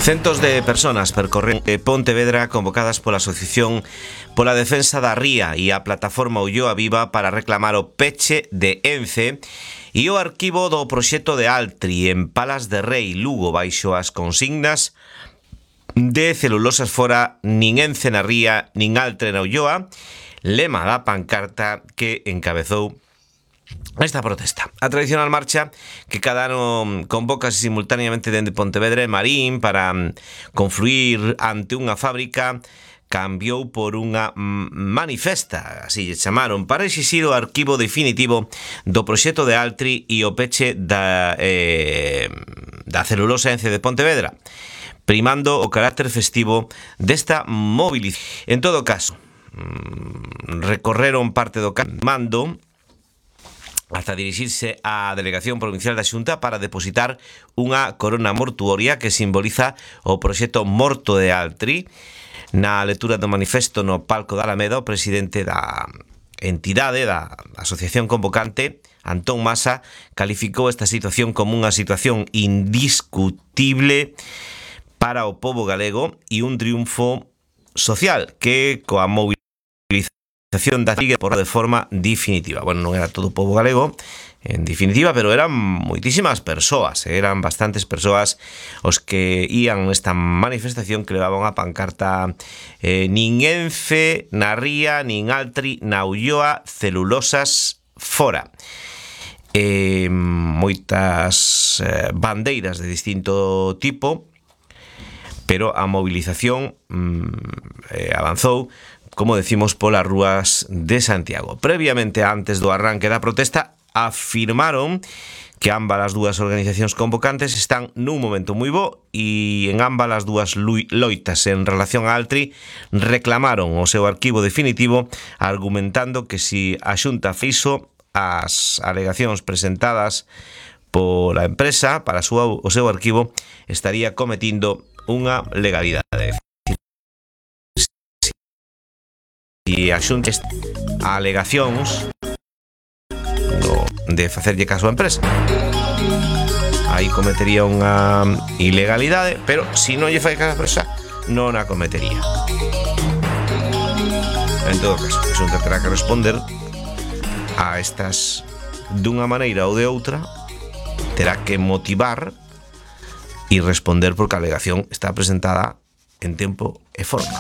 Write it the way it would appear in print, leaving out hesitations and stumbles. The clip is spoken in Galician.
Centos de personas percorren Pontevedra convocadas pola Asociación pola Defensa da Ría e a Plataforma Ulloa Viva para reclamar o peche de Ence e o arquivo do proxecto de Altri en Palas de Rei, Lugo, baixo as consignas de celulosas fora, nin Ence na Ría, nin Altri na Ulloa, lema da pancarta que encabezou esta protesta. A tradicional marcha que cada ano convócase simultaneamente dende Pontevedra e Marín para confluir ante unha fábrica cambiou por unha manifesta, así lle chamaron, para exixir o arquivo definitivo do proxecto de Altri e o peche da celulosa Ence de Pontevedra, primando o carácter festivo desta movilización. En todo caso, recorreron parte do mando hasta dirixirse á Delegación Provincial da Xunta para depositar unha corona mortuoria que simboliza o proxecto morto de Altri. Na lectura do manifesto no palco da Alameda, o presidente da entidade, da asociación convocante, Antón Masa, calificou esta situación como unha situación indiscutible para o pobo galego e un triunfo social que coa movilización da Liga por de forma definitiva. Bueno, non era todo o pobo galego en definitiva, pero eran moitísimas persoas, eran bastantes persoas os que ían nesta manifestación que levaban a pancarta nin Ence na Ría, nin Altri na Ulloa, celulosas fora. Moitas bandeiras de distinto tipo, pero a movilización avanzou, como decimos, polas rúas de Santiago. Previamente, antes do arranque da protesta, afirmaron que ambas as dúas organizacións convocantes están nun momento moi bo e en ambas as dúas loitas en relación a Altri reclamaron o seu arquivo definitivo, argumentando que si a Xunta fixo as alegacións presentadas pola empresa para o seu arquivo, estaría cometindo unha legalidade. E a Xunta alegacións de facerlle caso á empresa, aí cometería unha ilegalidade, pero se non lle fai caso á empresa, non a cometería. En todo caso, a Xunta terá que responder a estas dunha maneira ou de outra, terá que motivar e responder porque a alegación está presentada en tempo e forma.